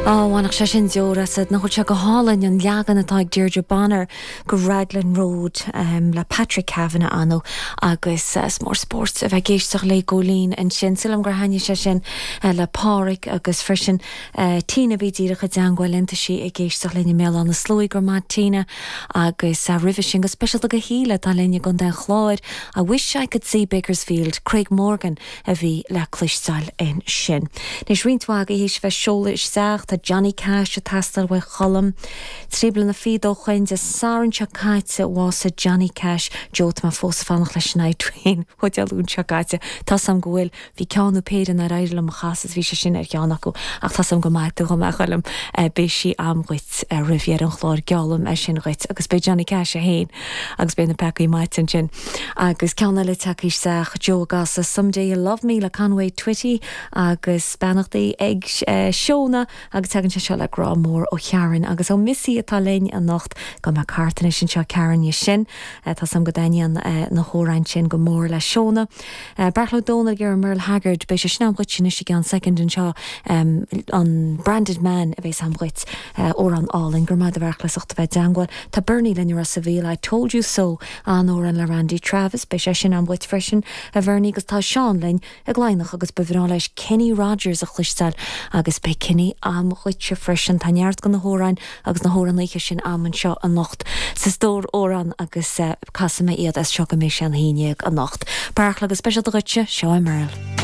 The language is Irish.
Á, bhainfeadh sé sin deor asat. Nach bhfuil sé go hálainn an leagan atá ag Deirdre Bonner go Raglan Road le Patrick Kavanagh ann agus is mór spórt a bheith ag éisteacht léi Góilín ansin. Súil agam gur thaitnigh sé sin le Páraic agus freisin Tina a bhí díreach i dteangmháil linn. Tá sí ag éisteacht linn i mBéal Átha na Sluaighe. Go raibh maith Tina. Agus roimhe sin go speisialta go Shíle atá linn i gContae an Chláir, I wish I could see Bakersfield, Craig Morgan. a bhí le cloisteáil ansin. Anois, roinnt mhaith agaibh théis a bheith seoladh isteach, tá Johnny Cash ag teastáil uaidh Cholm. Trí bliana fichead ó shoin, Dé Sathairn seo caite a bhásaigh Johnny Cash. Joe, tá mé fós ag fanacht leis an I-Twain ó Dé Luain seo caite. Tá's a'm go bhfuil, bhí ceann nó péire nár éirigh liom a chasadh is bhí sé sin ar cheann acu ach tá's a'm go maithfidh tú dhom, a Choilm. Beidh sí a'm dhuit roimh dheireadh an chláir, geallaim é sin dhuit agus beidh Johnny Cash é féin agus beidh na peacaí maite ansin. Agus ceann eile tagtha isteach, Joe ag casadh Someday You'll Love Me le Conway Twitty agus beannachtaí ag Shona agus tagann sé seo le grá mór ó Sharon agus ó Missy atá linn anocht. Gabhfaidh mé thart anois anseo Karen dhe sin. Tá's a'm go dtaitníonn na hamhráin sin go mór le Shona. Beartla Ó Domhnaill ag iarraidh Merle Haggard, beidh sé sin a'm dhuit anois i gceann soicind anseo, an Branded Man a bhéas a'm dhuit. Amhrán álainn. Go raibh maith a'd a Bheartla as ucht a bheith i dteangmháil. Tá Bernie linn i Ros a' Mhíl, I Told You So, An-amhrán le Randy Travis. Beidh sé sin a'm dhuit freisin, a Bhernie, agus tá Seán linn i gCladhnach agus ba bhreá leis Kenny Rogers a chloisteáil agus beidh Kenny a'm dhuitse freisin. Tá neart de na hamhráin agus na hamhránaithe sin a'm anseo anocht sa stór amhrán agus casfaidh mé iad as seo go mbeidh sé an haon dhéag anocht. Beartla, go speisialta dhuitse, seo é Merle.